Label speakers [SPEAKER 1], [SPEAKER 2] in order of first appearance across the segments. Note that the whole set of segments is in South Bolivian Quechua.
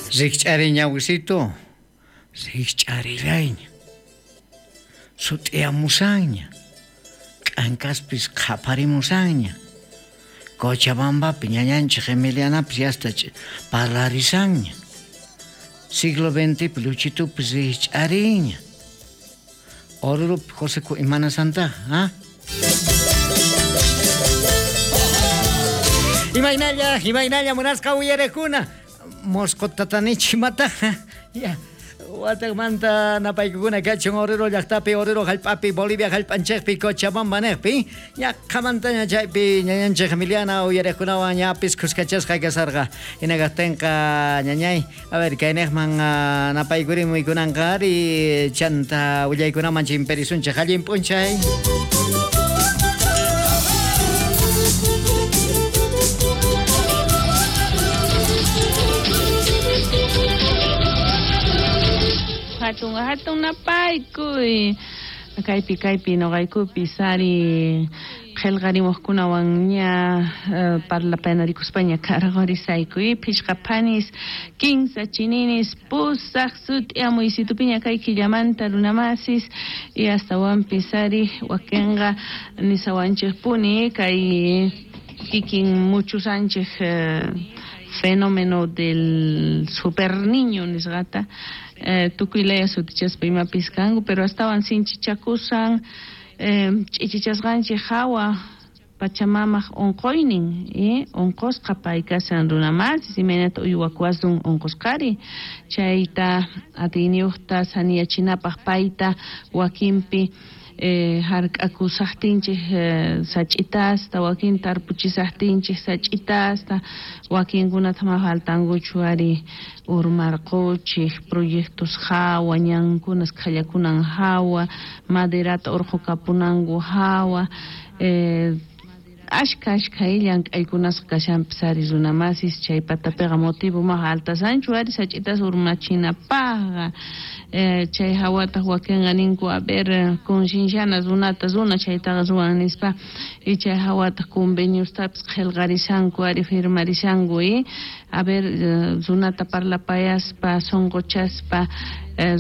[SPEAKER 1] Rikch'ariy ñawisitu, rikch'arillayña. Sut'iyamusanña, k'ankaspis qhaparimusanña. Cochabambapi ñañanchik Emilianapis yasta parlarisanña. Siglo XXpi Luchitupis rikch'arinña. Orurupi Joseku imanasantaj, ha? Imaynalla, imaynalla munasqa uyarekuna. Mosqo tatanichi imataqa. Ya. Wataqmanta napaykukuna kachun Oruro llaqtapi, Oruro hallp'api, Bolivia hallp'anchikpi, Cochabamba niqpi. Ñaqhamantaña chaypi ñañanchik Emiliana uyariqkunawan ñapis khuskachasqa kasarqa. Hina kaqtinqa ñañay, a ver, kayniqman napaykurimuy kunanqa ari chanta willaykunaman chimperisunchik. Allin p'unchay.
[SPEAKER 2] Hatun hatun napaykuy. Kaypi kaypi noqaykupis ari qhelqarimuqkunawan ña parlapayanarikuspaña karqorisayku phishqa phanis kinsa chininis pusaq sut'iamuysitupiña kay killamanta runamasis y astawanpis ari wakinqa nisawanchikpuni kay kikin muchusanchik fenómeno del super niño nisqata tukuy laya sutichaspa imapis kanku pero astawan sinchichakusan ch'ichichasqanchik hawa Pachamamaq unquynin, unqusqa pay kashan runamasis, imaynata uywakuwasun unqusqari, chayta atiyniyuqta saniyachinapaq payta wakinpi hark'akusaqtinchik sach'itasta, wakin tarpuchisaqtinchik sach'itasta, wakinkunata ma faltankuchu ari urmarquchik proyectos hawa, ñankunas khallakunan hawa, maderata urqukapunanku hawa, ashkha ashkha llank'aykunasqa kashanpis ari runamasis chay patapiqa motivo maqa altasanchu ari sach'itas urmachinapaqqa chay hawataq wakinqa ninku a ver concienciana runata runa chaytaqa ruwan nispa y chay hawataq conveniostapis qhelqarishanku ari firmarishanku y a ver runata parlapayaspa sonqochaspa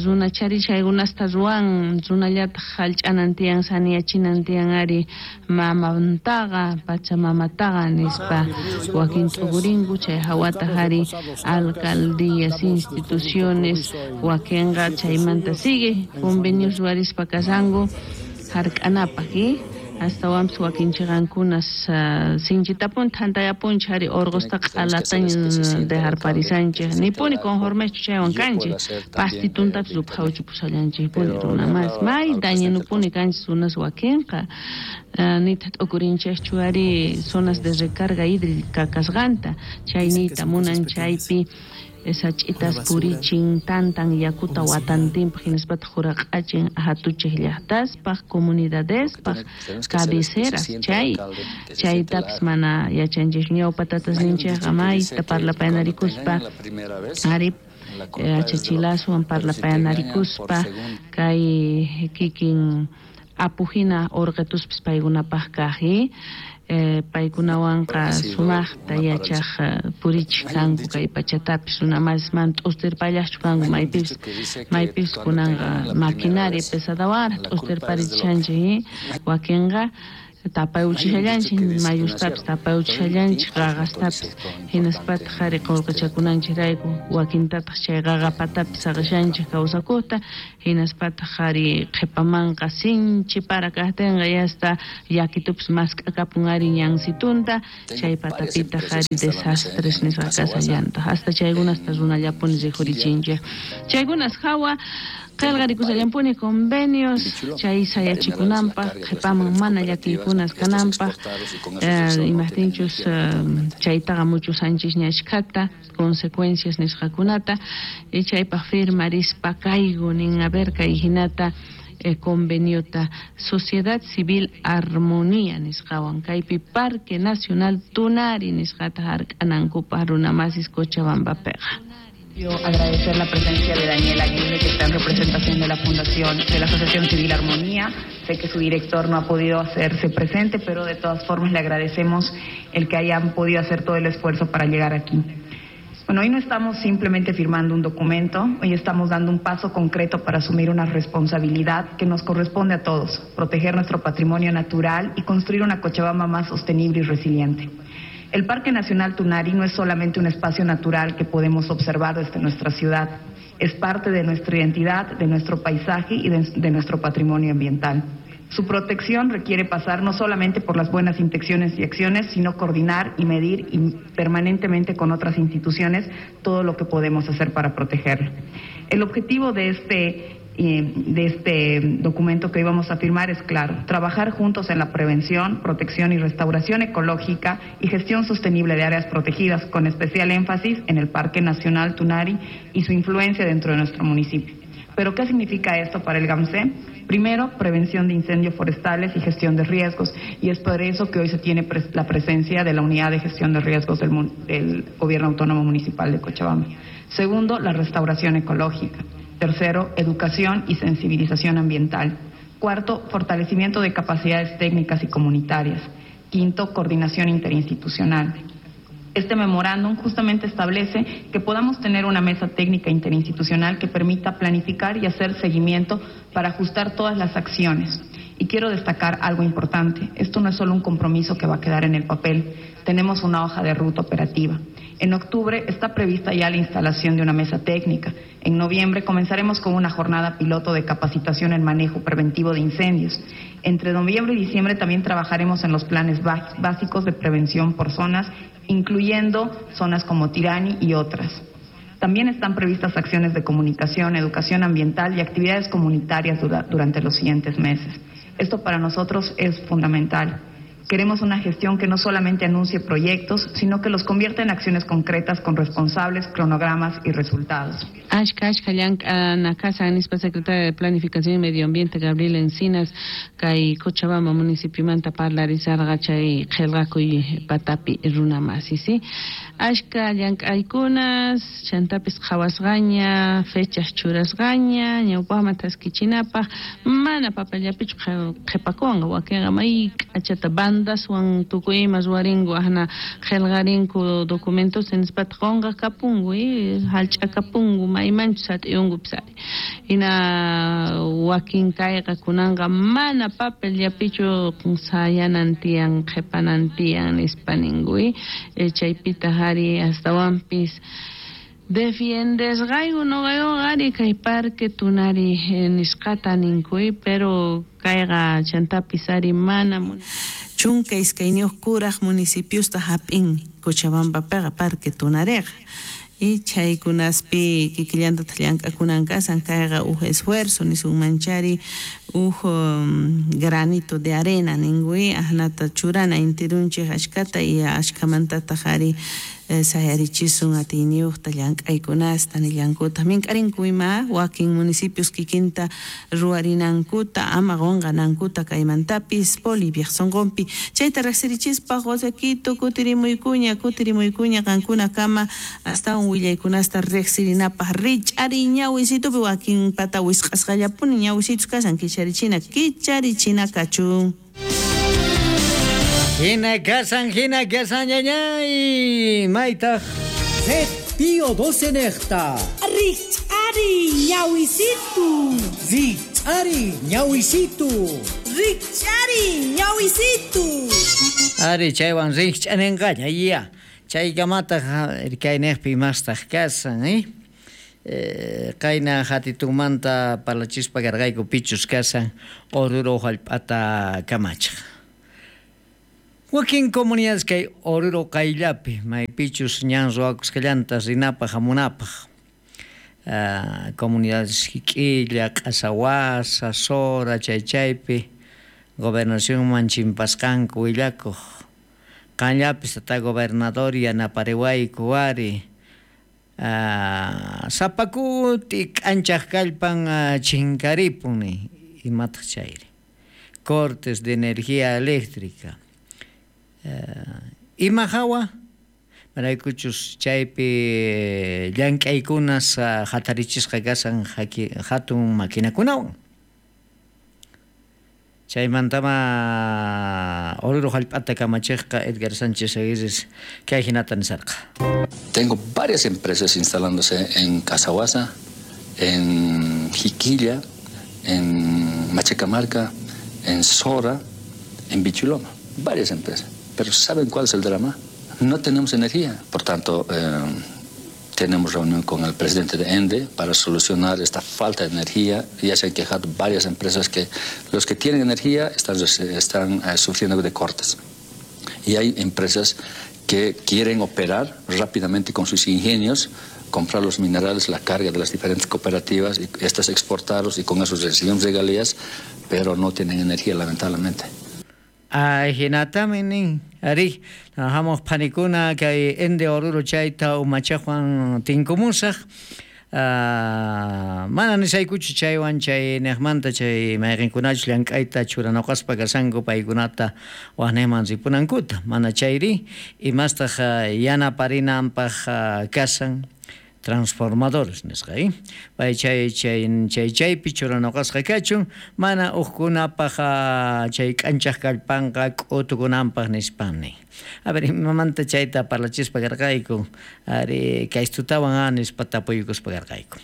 [SPEAKER 2] runa chari chaykunasta ruwan runallataq hallch'anan tiyan saniyachinan tiyan ari mamantaqa pachamamataqa nispa wakin t'ukurinku chay hawataq ari alcaldías instituciones wakinqa chaymanta sigue convenios ruwarispa kashanku hark'anapaq astawanpis wakin chiqankunas sinchitapuni thantayapunchik ari urqusta q'alataña dejarparisanchik nipuni conformechu chaywan kanchik pastituntapis ruphawchipushallanchikpuni runa mas may dañinupuni kanchik runas wakinqa nitaq t'ukurinchikchu ari zonas de recarga hídrica kasqanta chay niyta munan chaypi sach'itas purichin tantan yakuta watantinpaq hinaspataq huraq'achin hatuchik llaqtaspaq comunidadespaq cabeceras chay chaytapis mana yachanchikchu ñawpa tatasninchikqa mayta parlapayanarikuspa ari achachilaswan parlapayanarikuspa kay kikin apuhina urqituspis paykunapaq kaq paykunawanqa sumaqta yachaq purichik kanku kay pachatapis runamasis mana t'ustirpallaqchu kanku maypipis maypipis kunanqa maquinaria pesadawanraq t'ustirparichishanchik wakinqa tapayuchishallanchik mayustapis tapayuchishallanchik qaqastapis hinaspataq ari qullqichakunanchikrayku wakintataq chay qaqapatapis saqishanchik kawsakuqta hinaspataq ari qhipamanqa sinchi para kaqtinqa yasta llakitupis mask'akapun ari ñansitunta chay patapitaq ari desastres nisqa kasallantaq hasta chaykunasta runallapuni rikhurichinchik chaykunas hawa qillqarikushallampuni convenios chay sayachikunanpaq qhipaman mana llakiykunas kananpaq imaqtinchus chaytaqa muchusanchikña ashkhata consecuencias nisqakunata y chaypaq firmarispa kayku nin a ver kay hinata conveniota Sociedad Civil Armonía nisqawan kaypi Parque Nacional Tunari nisqata hark'anankupaq runamasis Cochabambapiqa.
[SPEAKER 3] Quiero agradecer la presencia de Daniel Aguirre, que está en representación de la Fundación de la Asociación Civil Armonía. Sé que su director no ha podido hacerse presente, pero de todas formas le agradecemos el que hayan podido hacer todo el esfuerzo para llegar aquí. Bueno, hoy no estamos simplemente firmando un documento, hoy estamos dando un paso concreto para asumir una responsabilidad que nos corresponde a todos, proteger nuestro patrimonio natural y construir una Cochabamba más sostenible y resiliente. El Parque Nacional Tunari no es solamente un espacio natural que podemos observar desde nuestra ciudad, es parte de nuestra identidad, de nuestro paisaje y de nuestro patrimonio ambiental. Su protección requiere pasar no solamente por las buenas intenciones y acciones, sino coordinar y medir permanentemente con otras instituciones todo lo que podemos hacer para protegerlo. El objetivo de este documento que hoy vamos a firmar es claro: trabajar juntos en la prevención, protección y restauración ecológica y gestión sostenible de áreas protegidas, con especial énfasis en el Parque Nacional Tunari y su influencia dentro de nuestro municipio. ¿Pero qué significa esto para el GAMCE? Primero, prevención de incendios forestales y gestión de riesgos, y es por eso que hoy se tiene la presencia de la Unidad de Gestión de Riesgos del Gobierno Autónomo Municipal de Cochabamba. Segundo, la restauración ecológica. Tercero, educación y sensibilización ambiental. Cuarto, fortalecimiento de capacidades técnicas y comunitarias. Quinto, coordinación interinstitucional. Este memorándum justamente establece que podamos tener una mesa técnica interinstitucional que permita planificar y hacer seguimiento para ajustar todas las acciones. Y quiero destacar algo importante. Esto no es solo un compromiso que va a quedar en el papel. Tenemos una hoja de ruta operativa. En octubre está prevista ya la instalación de una mesa técnica. En noviembre comenzaremos con una jornada piloto de capacitación en manejo preventivo de incendios. Entre noviembre y diciembre también trabajaremos en los planes básicos de prevención por zonas, incluyendo zonas como Tirani y otras. También están previstas acciones de comunicación, educación ambiental y actividades comunitarias durante los siguientes meses. Esto para nosotros es fundamental. Queremos una gestión que no solamente anuncie proyectos, sino que los convierta en acciones concretas con responsables, cronogramas y resultados.
[SPEAKER 2] Ashka, ashka, llank'ana kashan, nispa secretaria de Planificación y Medio Ambiente, Gabriela Encinas, kay Cochabamba municipiomanta parlarisarqa chay qillqakuy patapi runa masi, ¿sí? Ashka llank'aykunas, chantapis qhawasqaña, fechas churasqaña, ñawpaqman taskichinapaq, mana papallapichu qhipakunqa, wakinqa may k'achata bandaswan tukuy ima ruwarinku, ahna qillqarinku documentos nispata qunqa kapunku, hallch'akapunku, maymanchus sat'iyunkupis ari. Hina wakin kayqa kunanqa mana papellapichu sayanan tiyan, qhipanan tiyan nispa ninku, chaypitaq ari astawanpis defiendesqayku noqaykuqa ari kay Parque Tunari nisqata ninku, pero kayqa chantapis ari mana
[SPEAKER 4] chunka iskayniyuq kuraq municipiosta hap'in Cochabambapiqa Parque Tunariqa. Y chaykunaspi kikillantataq llank'akunan kasan kayqa uj esfuerzo nisunmanchari uj granito de arena ninkuy ahnata churana intirunchik ashkata y ashkamantataq ari sayarichisun atiyniyuqta llank'aykunasta nillankutaq mink'arinku ima wakin municipios kikinta ruwarinankuta ama qunqanankuta kaymantapis Boliviaq sunqunpi chayta riqsirichispa Josequito kutirimuykuña kutirimuykuña qankunakama astawan willaykunasta riqsirinapaq rich'ari ñawisitupi wakin pata wisq'asqallapuni ñawisitus kashan kicharichina kicharichina kachun.
[SPEAKER 1] Hina kasan, ñañay, maytaq.
[SPEAKER 5] Red Pío 12 nejta.
[SPEAKER 6] Rich'ari ñawisitu.
[SPEAKER 5] Rich'ari ñawisitu.
[SPEAKER 6] Rich'ari ñawisitu.
[SPEAKER 1] Ari chaywan rich'anenqaña, ya. Chaykamataq irkaynejpi imastaq kasan, Qayna hatitunmanta parlachispa karqayku pichus kasan Oruro hallp'ata kamachaq. Wakin comunidades kay Oruro qayllapi maypichus ñan ruwakusqallanta rinapaq hamunapaq. Comunidades Jiquilla, Q'asawasa, Sora, chaychaypi gobernacionman chimpasqanku willakuq. Qanllapis tata gobernador yanapariwayku ari. Sapakuti k'anchaq kallpan chinkaripun imataq chayri. Cortes de energía eléctrica. Ima hawa maraykuchus chaypi llank'aykunas hatarichisqa kasan hatun maquinakunawan. Chaymantama Oruro hallp'ata kamachejqa Edgar Sánchez Aguirre kay hinata nisarqa.
[SPEAKER 7] Tengo varias empresas instalándose en Casahuasa, en Jiquilla, en Machacamarca, en Sora, en Bichuloma. Varias empresas. Pero ¿saben cuál es el drama? No tenemos energía. Por tanto, tenemos reunión con el presidente de ENDE para solucionar esta falta de energía. Ya se han quejado varias empresas que los que tienen energía están sufriendo de cortes. Y hay empresas que quieren operar rápidamente con sus ingenios, comprar los minerales, la carga de las diferentes cooperativas y estas exportarlos y con eso reciben regalías, pero no tienen energía, lamentablemente.
[SPEAKER 1] Ay, hinatami nin, ari, trabajamos panikuna kay ENDE Oruro chayta umachajuan tinkumusaj, mana nisaykuchu chaywan chay nejmanta chay mayqinkunachus llank'ayta churanaqaspa kasanku paykunata wajnejman ripunankuta, mana chayri imastaq yanaparinanpaq kasan transformadores nisqa, pay chay chay chay chaypi churanoqasqa kachun mana uqkunapaq chay k'anchaq kallpanqa k'utukunanpaq nispan nin. A ver, imamanta chayta parlachispa karqayku, ari kaystutawan nispa tapuykuspa karqayku.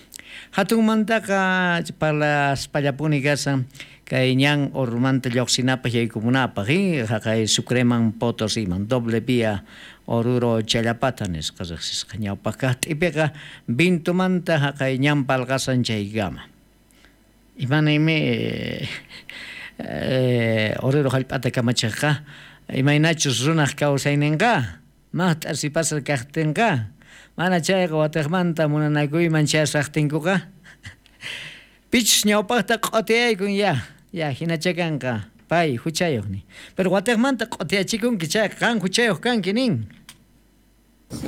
[SPEAKER 1] Hatunmantaqa parlaspallapuni kasan kay ñan Orurumanta lluqsinapaq yaykumunapaq, haqay Sucreman Potosiman, doble vía Oruro Challapata nisqa riqsisqa. Ñawpaq kaq t'ipiqa Vintumanta haqay ñan palqasan chaykama. Imanaymi Oruro hallp'ata kamachaqqa imaynachus runaq kawsayninqa maqt'a sipasqa kaqtinqa mana chayqa watiqmanta munanakuyman chayasaqtinkuqa pichus ñawpaqta q'utiyaykun ya ya hinachakanqa pay huchayuq nin. Pero watiqmanta q'utiyachikunki chayqa qan huchayuq kanki nin.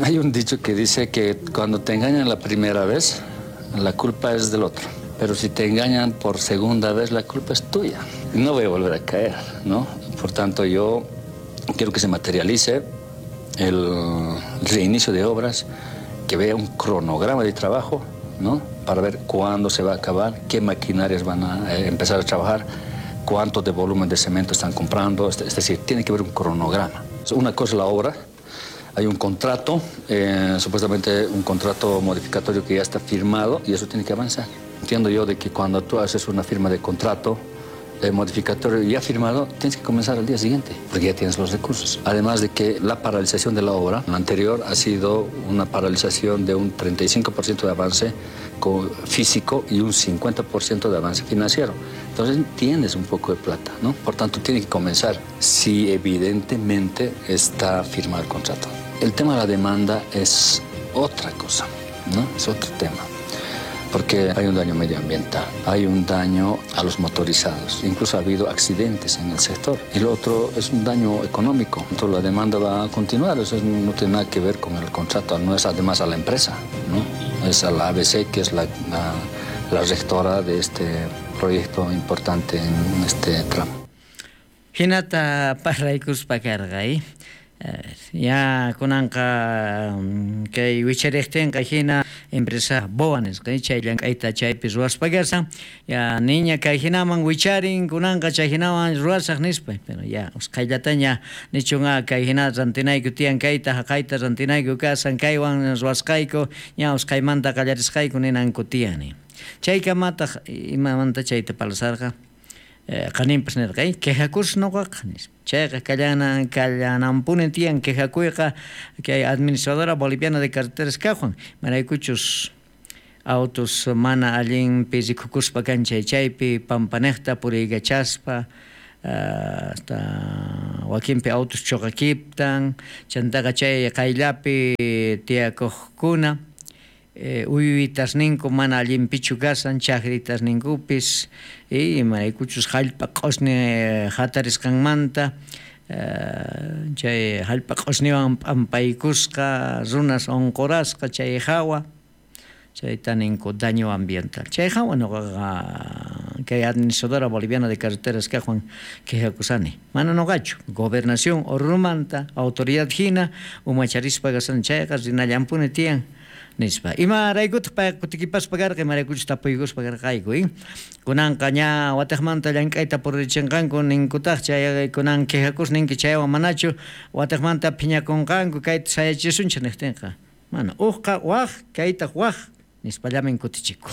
[SPEAKER 7] Hay un dicho que dice que cuando te engañan la primera vez, la culpa es del otro. Pero si te engañan por segunda vez, la culpa es tuya. No voy a volver a caer, ¿no? Por tanto, yo quiero que se materialice el reinicio de obras, que vea un cronograma de trabajo, ¿no? Para ver cuándo se va a acabar, qué maquinarias van a empezar a trabajar, cuánto de volumen de cemento están comprando. Es decir, tiene que haber un cronograma. Una cosa es la obra, hay un contrato, supuestamente un contrato modificatorio que ya está firmado y eso tiene que avanzar. Entiendo yo de que cuando tú haces una firma de contrato modificatorio ya firmado, tienes que comenzar al día siguiente, porque ya tienes los recursos. Además de que la paralización de la obra, la anterior, ha sido una paralización de un 35% de avance físico y un 50% de avance financiero. Entonces tienes un poco de plata, ¿no? Por tanto, tiene que comenzar si evidentemente está firmado el contrato. El tema de la demanda es otra cosa, ¿no? Es otro tema. Porque hay un daño medioambiental, hay un daño a los motorizados, incluso ha habido accidentes en el sector. Y lo otro es un daño económico. Entonces la demanda va a continuar, eso no tiene nada que ver con el contrato, no es además a la empresa, ¿no? Es a la ABC, que es la rectora de este proyecto importante en este tramo.
[SPEAKER 1] Hinata parlaykuspa karqa, Ya kunanqa kay wichariqtinqa hina empresa BOA nisqa chay llank'ayta chaypi ruwaspa kashan ya niña kay hinaman wicharin kunanqa chay hinaman ruwasaq nispa pero ya usqhayllataña nichun kay hina rantinayku tiyan kayta haqayta rantinayku kasan kaywan ruwasqayku ña usqhaymanta qallarisqayku ninanku tiyani chaykamataq imamanta chayta parlasarqa qaninpas nirqa quejakus noqaqa nispa chayqa kallananpuni tiyan quejakuyqa kay administradora boliviana de carreteras kaqwan maraykuchus autos mana allinpi rikukuspa kan chay chaypi pampanejta puriykachaspa hasta wakinpi autos chuqakiptan chantaqa chay qayllapi tiyakuqkuna uywitasninku mana allinpichu kasan chakritasninkupis imaraykuchus hallp'a q'usni hatarisqanmanta chay hallp'a q'usniwan p'ampaykusqa runas unqurasqa chay hawa chayta ninku daño ambiental chay hawa nuqaqa kay administradora boliviana de carreteras kaqwan quejakusani mana nuqachu gobernación Orurumanta autoridad hina umacharispa kasan chayqa rinallanpuni tiyan Nispa. Imaraykutaq payqa kutikipaspa karqa, imaraykuchus tapuykuspa karqayku, Kunanqa ña watejmanta llank'ayta puririchinqanku ninkutaq, chay kunan quejakus ninki chaywan manachu watejmanta phiñakunqanku kayta sayachisunchik niqtinqa. Mana, ujqa waj, kaytaq waj, nispallamin kutichiku.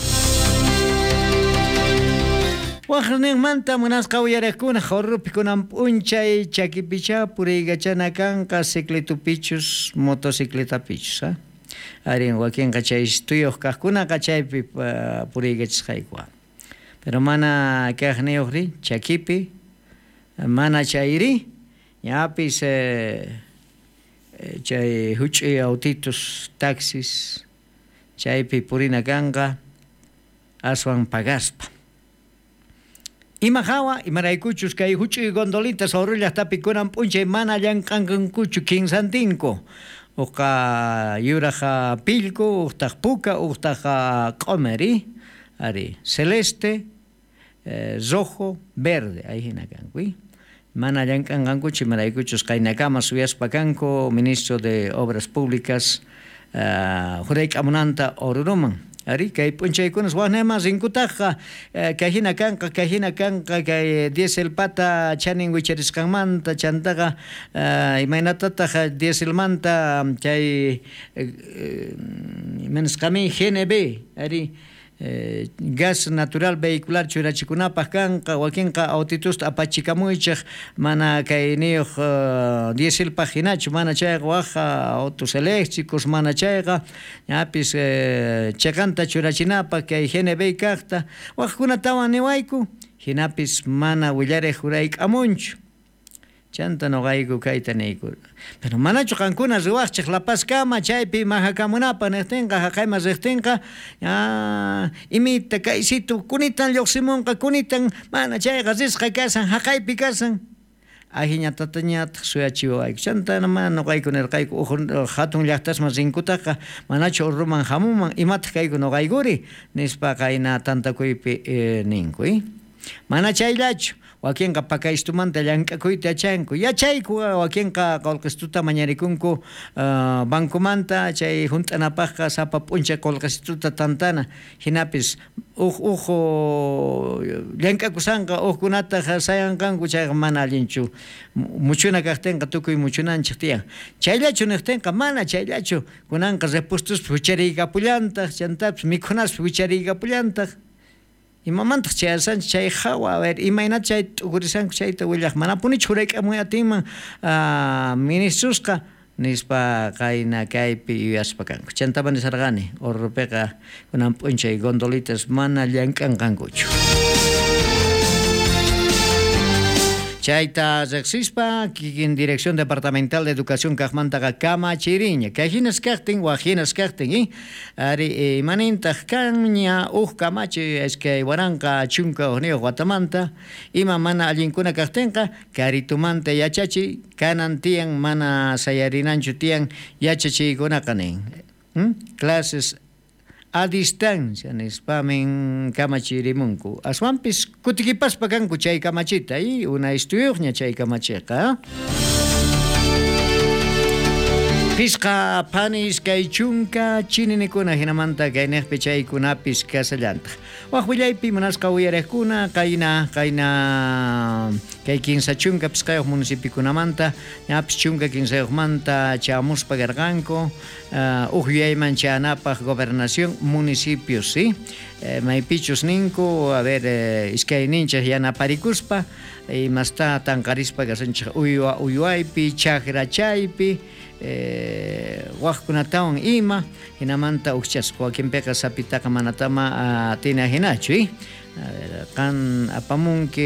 [SPEAKER 1] Wajninmanta munasqa uyarejkuna, Oruropi kunan p'unchay chakipichá puriykachana kanqa ciclitupichus motocicletapichus, ha? Arí, wakinqa chay tuyoj kajkunaqa chaypi puriykachisqayku. Pero mana kajniyojri chakipi, mana chayri, ñapis chay juch'uy autitos, taxis, chaypi purina kanqa aswan pagaspa. Ima hawa, imaraykuchus kay juch'uy gondolitas Oruro llajtapi kunan p'unchay mana llank'anqankuchu kinsantinku. Ujqa yuraj pillku, ujtaj puka, ujtaj q'omer, ari, celeste, rojo, verde, ahí hina kanku. Mana llank'anqankuchu imaraykuchus qaynakama suyaspa kanku ministro de Obras Públicas jurayk'amunanta Oruroman. Ari, kay p'unchaykunas wajnayman rinkutajqa, kay hina kanqa, kay hina kanqa, kay dieselpata chanin wicharisqanmanta, chantaqa imaynatataq dieselmanta chay imanasqamin GNB, ari, gas natural vehicular churachikunapaj kanqa, wakinqa autitusta apachikamuychej mana kayniyoj dieselpaj hinachu, mana chayqa waj autos eléctricos, mana chayqa ñapis cheqanta churachinapaj kay GNB kajta, wajkunatawan niwayku, hinapis mana willarej jurayk'amunchu. Chanta noqayku kayta niyku. Pero manachu qankuna riwaqchej La Pazkama chaypi majakamunapaj niqtinqa, jaqayman riqtinqa, imita kaysitu kunitan lluqsimunqa, kunitan mana chayqa risqa kasan, jaqaypi kasan. Ajiñatatañataq suyachiwayku. Chanta mana noqayku nirqayku uj hatun llaqtasman rinkutaqa manachu Oruroman hamunman, imataq kayku noqaykuri nispa qayna tantakuypi ninku. Mana chayllachu. Wakinqa pakaystumanta llank'akuyta yachanku. Yachayku wakinqa qolqestuta mañarikunku bancomanta chay junt'anapajqa sapa p'unchay qolqestuta tantana. Hinapis uj uj llank'akusanqa ujkunataq sayanqanku chayqa mana allinchu. Muchuna kaqtinqa tukuy muchunanchik tiyan. Chayllachu niqtinqa mana chayllachu. Kunanqa repuestuspi huchariykapullantaq, chantapis mikhunaspi huchariykapullantaq. Imamantaq chayasanchik chay hawa, a ver, imaynata chay t'ukurisanku chayta willaj, manapunichu jurayk'amuy atinman ministrusqa nispa qayna kaypi yuyaspa kanku. Chantapa nisarqani, Oruropiqa kunan p'unchay gondolitas mana llank'anqankuchu. Chayta riqsispa kikin Dirección Departamental de Educación kaqmantaqa kamachiriña. Kay hinas kaqtin, waj hinas kaqtin, ari imanintaq kanña uj kamachi 2011 watamanta, ima mana allinkuna kaqtinqa karitumanta yachachiy kanan tiyan mana sayarinanchu tiyan yachachiykunaqa nin. Clases a distancia nispamin kamachirimunku. Aswanpis kutikipaspa kanku chay kamachita, una istuyuqña chay kamachiqa. Pisqa panis kay chunka chininikuna hinamanta kayniqpi chaykunapis kasallantaq. Waj willaypi munasqa uyarejkuna qayna kay 35 pisqayuq municipiokunamanta ñapis 13 manta chamuspa karqanku uj yuyayman chanapaj gobernación municipios, ¿sí? Maypichus ninku, a ver, iskayninchej yanaparikuspa imasta tanqarispa kasanchej uywa uywaypi, chakra chaypi, wajkunatawan ima, hinamanta ujchasqa wakinpiqa sapitaqa manatama atina hinachu, A ver, qan apamunki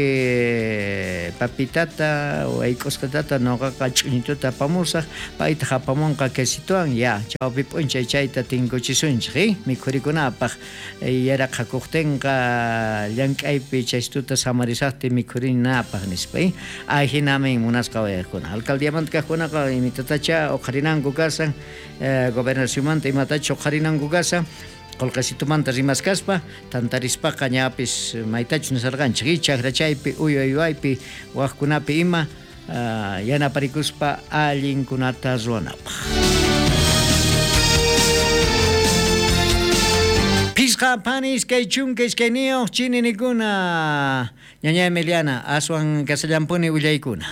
[SPEAKER 1] papitata wayk'usqatata noqaqa ch'uñituta apamusaq, paytaq apamunqa quesituwan, ya, chawpi p'unchay chayta tinkuchisunchik, mikhurikunapaq yaraqhakuqtinqa llank'aypi chaystuta samarisaqti mikhurinapaq nispa, Ajinamin munasqa wayaqkuna. Alcaldiamanta kaqkunaqa imitatacha uqharinanku kasan, gobernacionmanta imatacha uqharinanku kasan, qolqesitumanta rimaskaspa tantarispaqa ñapis maytachus nisarqanchik, chakra chaypi, uywa uywaypi, wajkunapi ima yanaparikuspa allinkunata ruwanapaq. Phisqa phani 22 chininikuna. Ñaña Emiliana, aswan kasallampuni willaykuna.